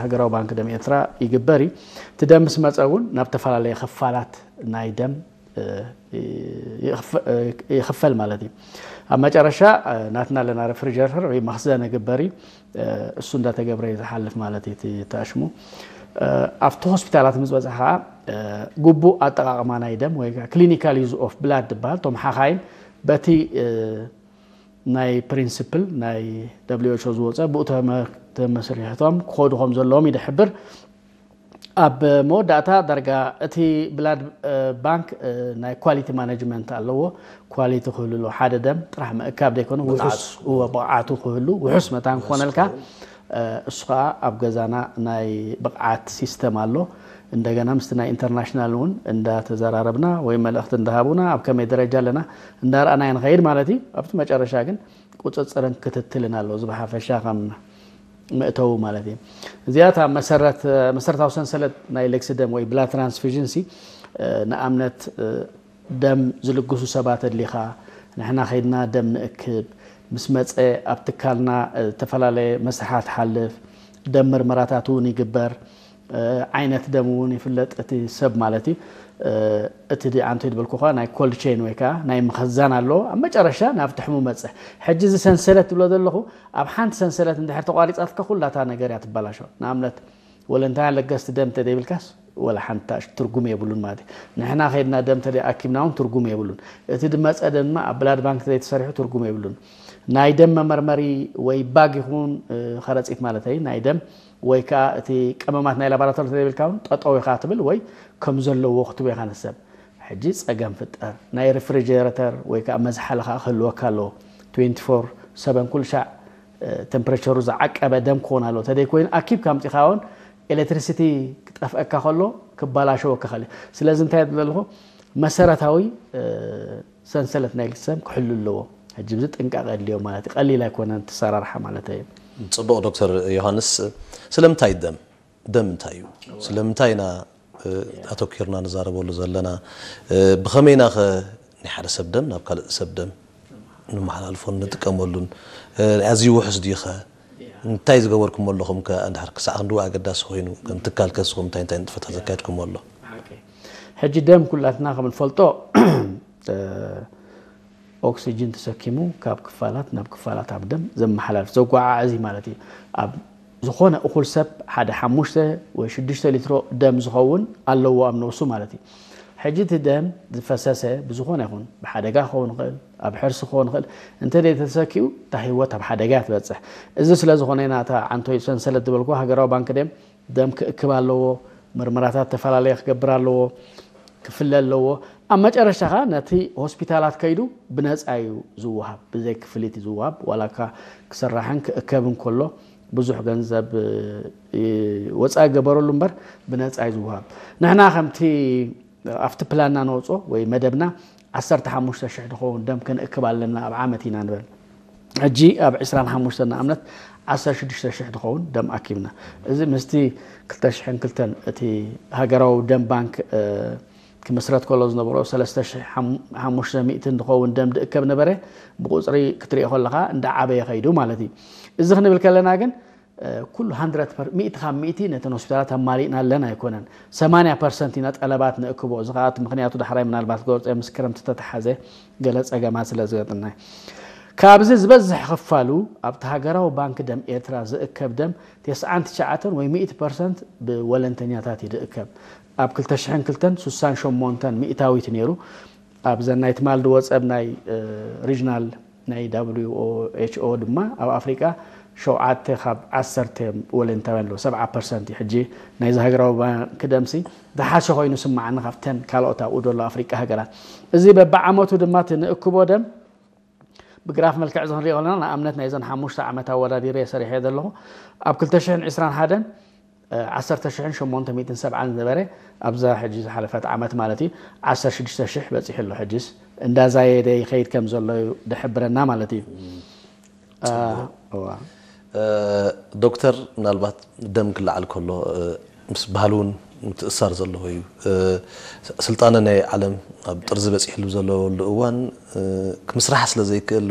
ሃገራዊ ባንክ ደም ኤርትራ ይግበር እዩ። እቲ ደም ምስ መጸ እውን ናብ ተፈላለየ ክፋላት ናይ ደም ይኽፈል ማለት እዩ። ኣብ መጨረሻ ናትና ኣለና ሬፍሪጀሬተር ወይ መኽዘን ይግበር እዩ። እሱ እንዳተገብረ እዩ ዝሓልፍ ማለት እዩ። እቲ ተኣሽሙ ኣብቲ ሆስፒታላት ምስ በፅሐ ከዓ ግቡእ ኣጠቃቅማ ናይ ደም ወይ clinical use of blood ዝበሃል፣ እቶም ሓኻይም በቲ ናይ ፕሪንስፕል ናይ ደብሊው ኤች ኦ ዝወፀ ብኡ ተመስሪሕቶም ክኸዱ ከም ዘለዎም ይድሕብር። ኣብ መወዳእታ ዳርጋ እቲ ብላድ ባንክ ናይ ኳሊቲ ማኔጅመንት ኣለዎ። ኳሊቲ ክህሉ ኣለዎ። ሓደ ደም ጥራሕ ምእካብ ዘይኮነ ውሑስ ብቕዓቱ ክህሉ፣ ውሑስ መታን ክኾነልካ። እሱ ከዓ ኣብ ገዛና ናይ ብቕዓት ሲስተም ኣሎ። እንደገና ምስቲ ናይ ኢንተርናሽናል እውን እንዳተዘራረብና ወይ መልእኽቲ እንዳሃቡና ኣብ ከመይ ደረጃ ኣለና እንዳረኣና ንኸይድ ማለት እዩ። ኣብቲ መጨረሻ ግን ቁፅፅርን ክትትልን ኣሎ። እዚ ብሓፈሻ ከም መእተዊ ማለት እዩ። እዚኣ እታ መሰረት መሰረታዊ ሰንሰለት ናይ ልግሲ ደም ወይ ብላድ ትራንስፊዥን ሲ ንኣብነት ደም ዝልግሱ ሰባት ኣድሊኻ ንሕና ከይድና ደም ንእክብ፣ ምስ መፀ ኣብ ትካልና ዝተፈላለየ መስርሓት ሓልፍ፣ ደም ምርመራታት እውን ይግበር። ዓይነት ደም እውን ይፍለጥ እቲ ሰብ ማለት እዩ። እቲ ኣንቶ ዝበልኩኻ ናይ ኮልድ ቼን ወይ ከዓ ናይ ምኽዛን ኣለዎ። ኣብ መጨረሻ ናብቲ ሕሙ መፀ። ሕጂ እዚ ሰንሰለት ትብሎ ዘለኹ ኣብ ሓንቲ ሰንሰለት እንድሕር ተቋሪፃትካ ኩላታ ነገር እያ ትበላሾ። ንኣብነት ወለንታውያን ለገስቲ ደም ተደይብልካስ ወላ ሓንቲ ትርጉም የብሉን ማለት እዩ። ንሕና ከይድና ደም ተደይ ኣኪብና እውን ትርጉም የብሉን። እቲ ድመፀ ድማ ኣብ ብላድ ባንክ ተደይ ተሰሪሑ ትርጉም የብሉን። ናይ ደም መመርመሪ ወይ ባግ ይኹን ከረፂት ማለት ናይ ደም ወይ ከዓ እቲ ቀመማት ናይ ላቦራቶሪ ተደይብልካ እውን ጠጠው ኢኻ ትብል ወይ ከም ዘለዎ ክትቦ ኢኻ ንሰብ። ሕጂ ፀገም ፍጠር ናይ ሪፍሪጀረተር ወይ ከዓ መዝሓሊ ከዓ ክህልወካ ኣለዎ። ትዌንቲ ፎር ሰቨን ኩሉ ሻዕ ተምፕሬቸሩ ዝዓቀበ ደም ክኾን ኣለዎ። ተደይ ኮይኑ ኣኪብካ ኣምፂኻ እውን ኤሌክትሪሲቲ ክጠፍአካ ከሎ ክባላሸወካ ከለ። ስለዚ እንታይ ዘለኹ መሰረታዊ ሰንሰለት ናይ ልግሲ ደም ክሕሉ ኣለዎ። ሕጂ ብዚ ጥንቃቐ የድልዮ ማለት እዩ። ቀሊል ኣይኮነን እቲ ኣሰራርሓ ማለት እዩ። ፅቡቕ ዶክተር ዮሃንስ፣ ስለምንታይ ደም ደም እንታይ እዩ? ስለምንታይ ኢና ኣተኪርና ንዛረበሉ ዘለና? ብኸመይ ኢና ኸ ናይ ሓደ ሰብ ደም ናብ ካልእ ሰብ ደም ንመሓላልፎን ንጥቀመሉን? ኣዝዩ ውሑስ ድዩ ኸ? እንታይ ዝገበርኩሞ ኣለኹም ከ? እንድሕር ክሳዕ ክንድኡ ኣገዳሲ ኮይኑ ከም ትካል ከ ንስኹም እንታይ እንታይ ንጥፈታት ዘካየድኩሞ ኣሎ? ሕጂ ደም ኩላትና ከም ንፈልጦ ኦክሲጅን ተሰኪሙ ካብ ክፋላት ናብ ክፋላት ኣብ ደም ዘመሓላልፍ ዘጓዓዕዝ ማለት እዩ። ኣብ ዝኾነ እኹል ሰብ ሓደ ሓሙሽተ ወይ ሽዱሽተ ሊትሮ ደም ዝኸውን ኣለዎ ኣብ ነብሱ ማለት እዩ። ሕጂ እቲ ደም ዝፈሰሰ ብዝኾነ ይኹን ብሓደጋ ክኸውን ይኽእል፣ ኣብ ሕርሲ ክኸውን ይኽእል፣ እንተ ተሰኪኡ እታ ህይወት ኣብ ሓደጋ እያ ትበፅሕ። እዚ ስለ ዝኾነ ኢና እታ ዓንቶይ ሰንሰለት ዝበልኩ ሃገራዊ ባንክ ደም ደም ክእክብ ኣለዎ፣ ምርመራታት ተፈላለየ ክገብር ኣለዎ፣ ክፍለ ኣለዎ። ኣብ መጨረሽታ ኸዓ ነቲ ሆስፒታላት ከይዱ ብነፃ እዩ ዝወሃብ፣ ብዘይ ክፍሊት እዩ ዝወሃብ። ዋላ እኳ ክስራሕን ክእከብን ከሎ ብዙሕ ገንዘብ ወፃኢ ገበረሉ እምበር ብነፃ እዩ ዝወሃብ። ንሕና ከምቲ ኣብቲ ፕላንና ነውፅኦ ወይ መደብና ዓሰርተ ሓሙሽተ ሽሕ ዝኸውን ደም ክንእክብ ኣለና ኣብ ዓመት ኢና ንብል። ሕጂ ኣብ ዕስራን ሓሙሽተን ንኣብነት ዓሰርተ ሽዱሽተ ሽሕ ዝኸውን ደም ኣኪብና። እዚ ምስቲ ክልተ ሽሕን ክልተን እቲ ሃገራዊ ደም ባንክ ክምስረት ከሎ ዝነበሮ ሰለስተ ሽሕ ሓሙሽተ ሚእትን ዝኸውን ደም ዝእከብ ነበረ። ብቁፅሪ ክትሪኦ ከለኻ እንዳዓበየ ከይዱ ማለት እዩ። እዚ ክንብል ከለና ግን ኩሉ ሚእቲ ካብ ሚእቲ ነተን ሆስፒታላት ኣማሊእና ኣለና ኣይኮነን። ሰማንያ ፐርሰንት ኢና ጠለባት ንእክቦ። እዚ ከዓ እቲ ምኽንያቱ ዳሕራይ ምናልባት ክገልፆ ምስ ክረምቲ ተተሓዘ ገለ ፀገማት ስለ ዝገጥምና እዩ። ካብዚ ዝበዝሕ ክፋሉ ኣብቲ ሃገራዊ ባንክ ደም ኤርትራ ዝእከብ ደም ተስዓን ትሽዓተን ወይ ሚእቲ ፐርሰንት ብወለንተኛታት እዩ ዝእከብ። ኣብ ክልተ ሽሕን ክልተን ስሳን ሸሞንተን ሚእታዊት ነይሩ። ኣብዘን ናይ ትማል ዝወፀብ ናይ ሪጅናል ናይ ደብሊው ኤች ኦ ድማ ኣብ ኣፍሪቃ ሸውዓተ ካብ ዓሰርተ ወለንታውያን ኣለዉ። ሰብዓ ፐርሰንት እዩ። ሕጂ ናይዚ ሃገራዊ ባንክ ደምሲ ዝሓሸ ኮይኑ ስማዓኒ ካብተን ካልኦት ኣብኡ ዘሎ ኣፍሪቃ ሃገራት። እዚ በብዓመቱ ድማ እቲ ንእክቦ ደም ብግራፍ መልክዕ እዚ ክንሪኦ ከለና ንኣብነት ናይዘን ሓሙሽተ ዓመት ኣወዳዲረ ሰሪሐ ዘለኹ ኣብ ክልተ ሽሕን ዕስራን ሓደን ዓሰርተ ሽሕን ሸሞንተ ሚእትን ሰብዓን ዝነበረ ኣብዛ ሕጂ ዝሓለፈት ዓመት ማለት እዩ ዓሰርተ ሽዱሽተ ሽሕ በፂሑ ኣሎ። ሕጂስ እንዳዛየደ ይኸይድ ከም ዘሎ እዩ ዝሕብረና ማለት እዩ። ዶክተር፣ ምናልባት ደም ክለዓል ከሎ ምስ ባህሊ እውን ምትእሳር ዘለዎ እዩ። ስልጣነ ናይ ዓለም ኣብ ጥርዚ በፂሕሉ ዘለወሉ እዋን ክምስራሕ ስለ ዘይክእል